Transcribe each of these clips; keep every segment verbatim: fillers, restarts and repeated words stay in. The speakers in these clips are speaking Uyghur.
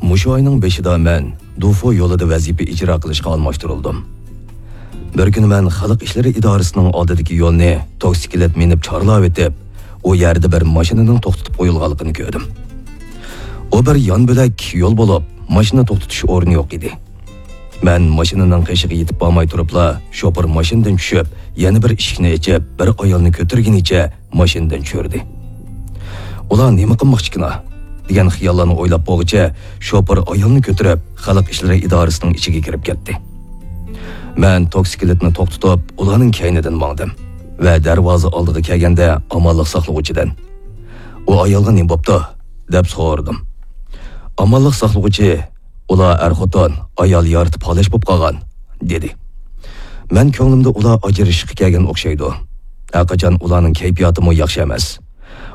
مۇشۇ ئاينىڭ بېشىدا مەن دۇفۇ يولىدا ۋەزىپە ئىجرا قىلىشقا ئالماشتۇرۇلدۇم. بىر كۈنى مەن خەلق ئىشلىرى ئىدارىسىنىڭ ئالدىدىكى يولنى توكسىكلەت مىنىپ چارلاۋېتىپ، ئۇ يەردە بىر ماشىنىنىڭ توختىتىپ قويۇلغانلىقىنى كۆردۈم. ئۇ بىر يان بۆلەك يول بولۇپ، ماشىنا توختىتىش ئورنى يوق ئىدى. مەن ماشىنىنىڭ قېشىغا يېتىپ بارماي تۇرۇپلا، شوپۇر ماشىنىدىن چۈشۈپ، يەنە بىر ئىشىكنى ئېچىپ، بىر ئايالنى كۆتۈرگىنىچە ماشىنىدىن چۈشۈردى. «ئۇلار نېمە قىلماقچىكىنا؟» دېگەن خىياللارنى ئويلاپ بولغۇچە، شوپۇر ئايالنى كۆتۈرۈپ، خەلق ئىشلىرى ئىدارىسىنىڭ ئىچىگە كىرىپ كەتتى. مەن توكسىكلىتنى توختىتىپ، ئۇلارنىڭ كەينىدىن ماڭدىم ۋە دەرۋازا ئالدىغا كەلگەندە، ئامانلىق ساقلىغۇچىدىن، «ئۇ ئايالغا نېمە بوپتۇ؟» دەپ سورىدىم. ئامانلىق ساقلىغۇچى، «ئۇلار ئەر-خوتۇن، ئايال يارىتىپ پالەچ بولۇپ قالغان» دېدى. مەن كۆڭلۈمدە، ئۇلار ئاجرىشىشقا كەلگەن ئوخشايدۇ. ھەرقاچان ئۇلارنىڭ كەيپىياتىمۇ ياخشى ئەمەس.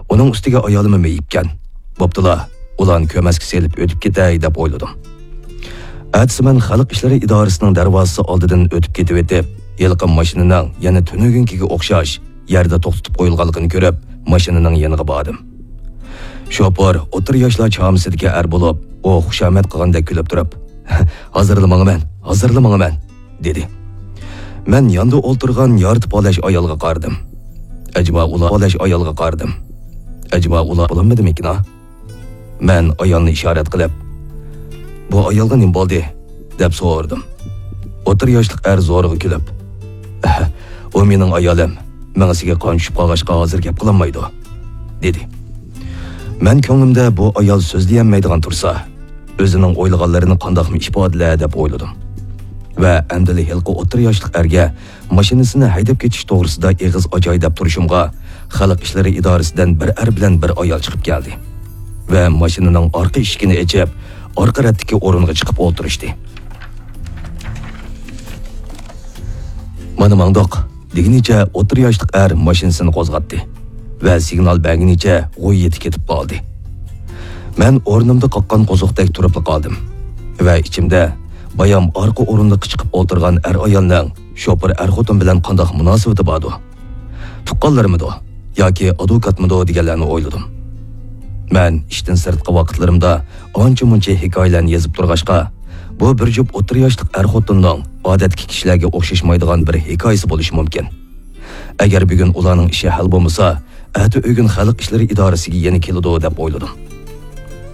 ئۇنىڭ ئۈستىگە ئايالىممۇ مېيىپكەن. بوپتۇلا، ئۇلارنى كۆرمەسكە سېلىپ ئۆتۈپ كېتەي دەپ ئويلىدىم. ئەتىسى مەن خەلق ئىشلىرى ئىدارىسىنىڭ دەرۋازىسى ئالدىدىن ئۆتۈپ كېتىۋېتىپ، ھېلىقى ماشىنىنىڭ يەنە تۈنۈگۈنكىگە ئوخشاش يەردە توختىتىپ قويۇلغانلىقىنى كۆرۈپ، ماشىنىنىڭ يېنىغا باردىم. شوپۇر ئوتتۇرا ياشلار چامىسىدىكى ئەر بولۇپ، ئۇ خۇشامەت قىلغاندەك كۈلۈپ تۇرۇپ، «ھازىرلا ماڭىمەن، ھازىرلا ماڭىمەن» دېدى. مەن ياندا ئولتۇرغان يارتى پالەچ ئايالغا قارىدىم. ئەجەبا ئۇلار پالەچ ئايالغا قارىدىم. ئەجەبا ئۇلار بولالمىدىمىكىنا؟ مەن ئايالنى ئىشارەت قىلىپ، «بۇ ئايالغا نېمە بولدى؟» دەپ سورىدىم. ئوتتۇرا ياشلىق ئەر زورىغا كۈلۈپ، «ئۇ مېنىڭ ئايالىم، مېڭىسىگە قان چۈشۈپ قالغاچقا ھازىر گەپ قىلالمايدۇ» دېدى. مەن كۆڭلۈمدە، بۇ ئايال سۆزلىيەلمەيدىغان تۇرسا، ئۆزىنىڭ ئويلىغانلىرىنى قانداقمۇ ئىپادىلەر دەپ ئويلىدىم. ۋە ئەمدىلا ھېلىقى ئوتتۇرا ياشلىق ئەرگە ماشىنىسىنى ھەيدەپ كېتىش توغرىسىدا ئېغىز ئاچاي دەپ تۇرۇشۇمغا، خەلق ئىشلىرى ئىدارىسىدىن بىر ئەر بىلەن بىر ئايال چىقىپ كەلدى ۋە ماشىنىنىڭ ئارقا ئىشىكىنى ئېچىپ، ئارقا رەتتىكى ئورۇنغا چىقىپ ئولتۇرۇشتى. «مانا ماڭدۇق» دېگىنىچە ئوتتۇرا ياشلىق ئەر ماشىنىسىنى قوزغاتتى ۋە سىگنال بەرگىنىچە غۇييىتى كېتىپ قالدى. مەن ئورنۇمدا قاققان قوزۇقتەك تۇرۇپلا قالدىم ۋە ئىچىمدە، بايام ئارقا ئورۇندۇققا چىقىپ ئولتۇرغان ئەر-ئايالنىڭ شوپۇر ئەر-خوتۇن بىلەن قانداق مۇناسىۋىتى باردۇ؟ تۇغقانلىرىمىدۇ ياكى ئادۋوكاتمىدۇ دېگەنلەرنى ئويلىدىم. مەن ئىشتىن سىرتقى ۋاقىتلىرىمدا ئانچە-مۇنچە ھېكايىلەرنى يېزىپ تۇرغاچقا، بۇ بىر جۈپ ئوتتۇرا ياشلىق ئەر-خوتۇننىڭ ئادەتتىكى كىشىلەرگە ئوخشاشمايدىغان بىر ھېكايىسى بولۇشى مۇمكىن. ئەگەر بۈگۈن ئۇلارنىڭ ئىشى ھەل بولمىسا، ئەتە ئۆگۈن خەلق ئىشلىرى ئىدارىسىگە يەنە كېلىدۇ دەپ ئويلىدىم.